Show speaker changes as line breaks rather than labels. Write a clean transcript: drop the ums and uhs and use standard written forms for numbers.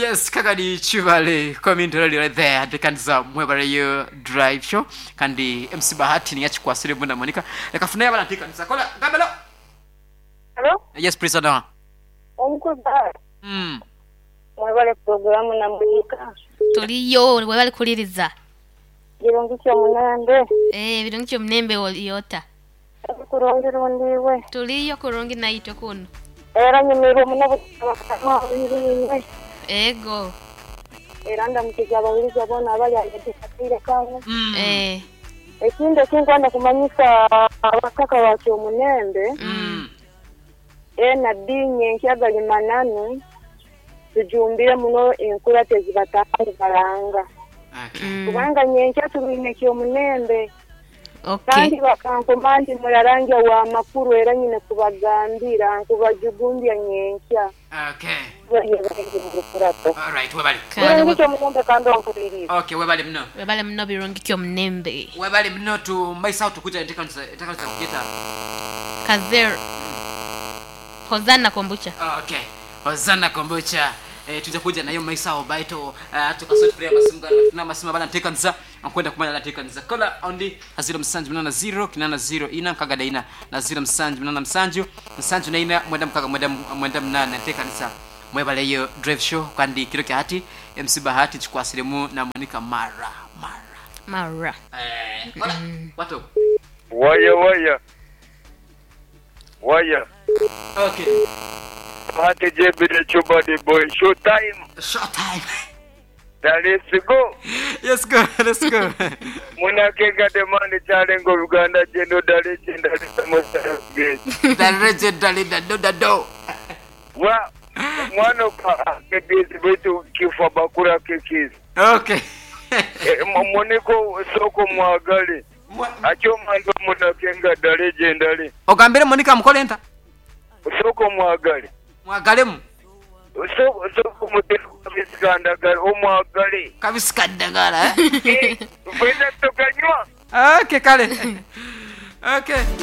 Yes, kakadi kibale community radio right there atekanisa mwebaleyo drive show kandi MC Bahati niye akikwasire muna Monica leka funayo abana ntekanisa kola gambelo.
Halo,
Yes, prisoner.
omukulu Bahati. Mwebale pulogulaamu na Monica.
Tuliyo webale kuliriza.
Birungi ki omunembe?
Eeh birungi ki omunembe oli ota?
Ndi kurungi rundi iwe?
Tuliyo kurungi naitwe kunu.
Era nyumirwa muno obutasaba bakama bainge.
Ego.
Era ndamukiza abawuliriza boona abali agh'eidho akaire kano.
Eeh.
Ekindi ekinkwenda kumanyisa abataka ba Kyomunembe, NB nyenkya gali mananu, tujumbire muno enkurato ezibataaha nibaranga. Kubanga nyenkya tulwine Kyomunembe. Kandi bakankoma nti mularangya wa makulu era nyine kubagambira nkubajugumbya nyenkya. Bali baingi mu lukurato. Birungi ki omulembe kandi ompuliriize.
Okay, webale muno.
Webale muno Birungi ki omunembe.
Webale muno tumaiso awo tukwita entekanisa entekanisa kugeta.
Kazer Hosanna Kombucha.
Okay. Hosanna Kombucha. Eh, tuja kuja nayo maiso awo baito uh, tukasoti prayer amasimu gana tuna amasimu abana ntekanisa nkwenda kumanya natekanisa kola ondi haziro musanju munana 0 kinana 0 ina nkaga daina na 0 musanju munana musanju musanju naina mwenda mukaga mwenda mwenda munana ntekanisa mwebaleyo drive show kandi kiro kya hati MC Bahati kikwasiremu na Monica mara mara
Mara.
eh, kola watu
Waya waya waya.
Okay.
Bahati JB the Chuba the boy. Show time.
Show time.
Now let's go.
Yes go. Let's go.
Munakenga the man the challenge of Uganda Jendo Dale Jenda Dale
The legend dale da do da do.
Wa mwana kwa kekezi bwetu kifa bakura kekezi.
Okay.
Eh, Moniko soko mwagale. Akyo mando munakenga dale jendale.
Ogambire Monica mukole nta.
Soko mwagale.
Mwagalemu.
Soko soko muteko kabisikandagala omwagale.
Kabisikandagala eh?
Fena tokanywa.
Okay kale. Okay.